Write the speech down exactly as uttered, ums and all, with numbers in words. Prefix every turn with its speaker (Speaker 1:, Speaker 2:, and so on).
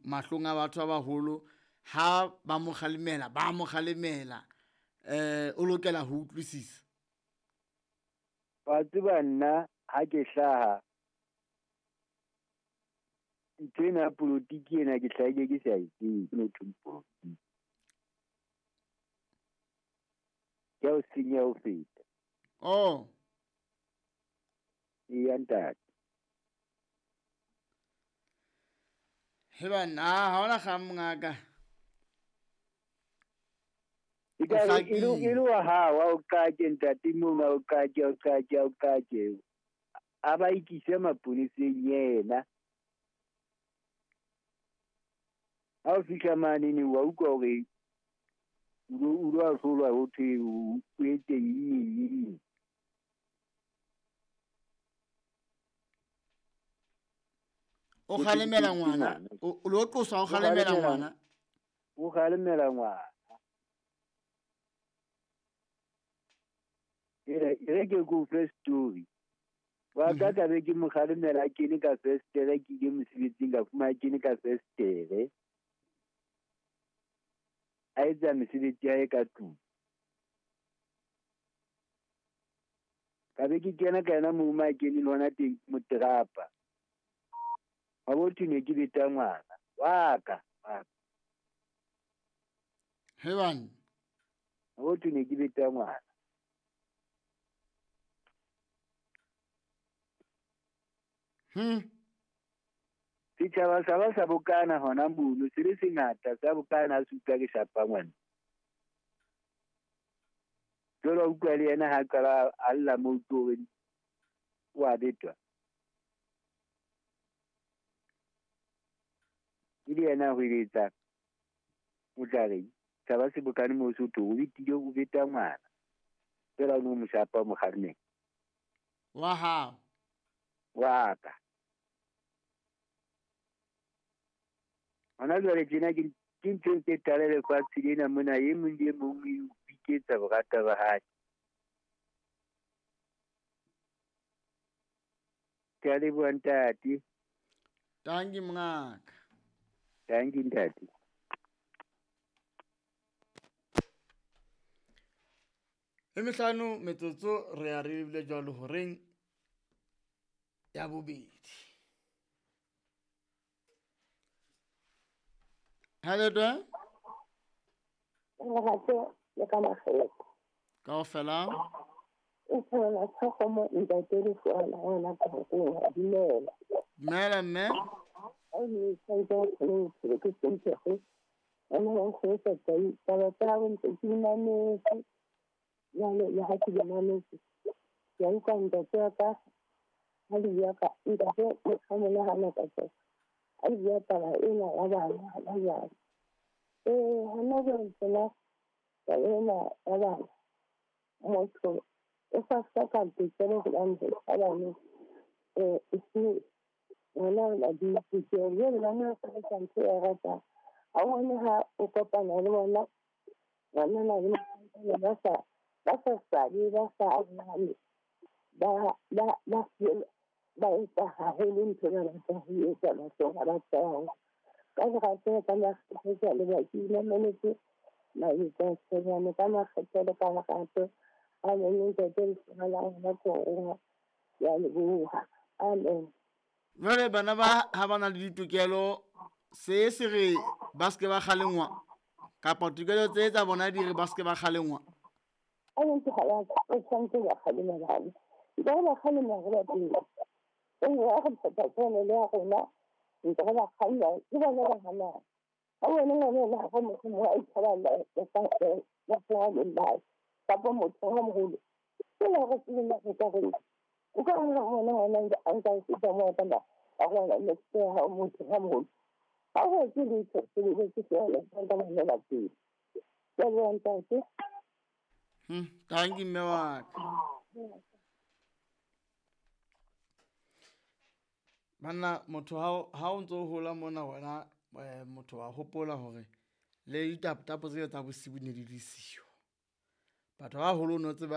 Speaker 1: mahlong a batho ba baholo, ha ba mo kgalemela ba mo kgalemela, eh o lokela ho utlwisisa.
Speaker 2: Wa tseba nna ha ke hlaha ntho ena ya polotiki ena ke hlahile ke sa e tsebe no thweng polotiki. Ke ya o senya ho feta.
Speaker 1: Oh.
Speaker 2: Eya ntate.
Speaker 1: He banna, ha hona kgang mongaka.
Speaker 2: E ka re e le e le wa hao, a o qake ntate mono, a o qake, a o qake, a o qake. A ba ikise maponeseng yena. Ha o fihla manene wa utlwa hore o lo o lo ahlolwa ho thwe o etse eng eng eng.
Speaker 1: O kgalemela ngwana, o lo qoswa o kgalemela ngwana.
Speaker 2: O kgalemela ngwana. E re ke ko fe story. Wa ka ka be ke mo kgalemela a kene ka festere, ke ile mosebetsing ka fumana kene ka festere. A etsa mesebetsi ya hae ka tlung. Ka be ke kena ka yena moo ma keneng hona teng moterapa. Wa bo thwe ne ke beta ngwana wa ka, wa ka.
Speaker 1: He banna.
Speaker 2: Wa bo thwe ne ke beta ngwana.
Speaker 1: Hmm.
Speaker 2: Setjhaba sa ba sa bokana hona mono, se le sengata sa bokana se utlwa ke shapa ngwana. Jwale wa utlwa le yena ha qala a lla moo ke hore o a betwa. E le yena a hweletsang, o tla reng? Setjhaba se bokane moo se thwe o betile, o beta ngwana. Feela o no mo shapa o mo kgalemela.
Speaker 1: Wa hao?
Speaker 2: Wa ka. Hona jwale tjena ke ke ntho e tala lefatshe lena mona, e mong le e mong o ipiketsa borata ba hae. Ke a leboha ntate.
Speaker 1: Tanki mongaka.
Speaker 2: Tanki ntate.
Speaker 1: E mehlano metsotso re a re bile jwalo horeng ya bobedi. Hello, Dwa.
Speaker 3: Lerato le ka makgetlo.
Speaker 1: Kaofela.
Speaker 3: O thola tlhokomo ntate le fola yona ka go dumela.
Speaker 1: Dumela mme.
Speaker 3: Ai ni santse go ke ke sentse go. Ana go go tsa tsa taba tsa go ntse ke mametse. Jwale le ha ke di mametse. Ke a utlwa ntate wa ka ha le bua ka ntate motho a monahana ka tsona. A le bua taba ena ya bana hona jwale. Eh, hona jwale tsena taba ena ya bana, motho o sa hloka tokelo hobane ba bane eh e se ngwana o na le ditokelo. Jwale bana ba etsa ntho e ratang. Ha o bone ha o kopana le bona ngwanana le mohlankana ba sa ba sa swabe, ba sa nahane, ba ba ba ba etsa haholo ntho e ba batlang ho etsa mahlong a batho ba bang. Ka lerato ka makgetlo ke a leboha, ke imameletse mabitso a Tshonyane ka makgetlo le ka lerato. Amen ntate lehlonolo la rona ke ho ke a leboha. Amen.
Speaker 1: Jwale bana ba ha ba na le ditokelo, se se re ba se ke ba kgalengwa kapa tokelo tse tsa bona di re ba se ke ba kgalengwa?
Speaker 3: A ntse ha ya ka, o tshwanetse ba kgalema bana. Ntse re ba kgalema re ba pele. E nngwe ya re phetha tshwanelo ya rona, ntse re ba kgalema, ke bona ba hanang. Ha o bone ngwana ena ha mohlomong a itsheballa lehlaheng la hae, kapa motho a moholo. Ke la re tsebe na re ka reng. O ka re ngwana ngwana a nka fihla moo a tsamaya, a rwala next ya hao motho a moholo. Ha ho etse letho, se lebetse feela, ba nka mamela pele. Ke a leboha ntate.
Speaker 1: Hmm, tanki mme wa ka. Banna motho ha ha o ntso hola mona wena motho wa hopola hore le ditaptapo tseo tsa bosibu ne di le siyo. Batho ba baholo no tseba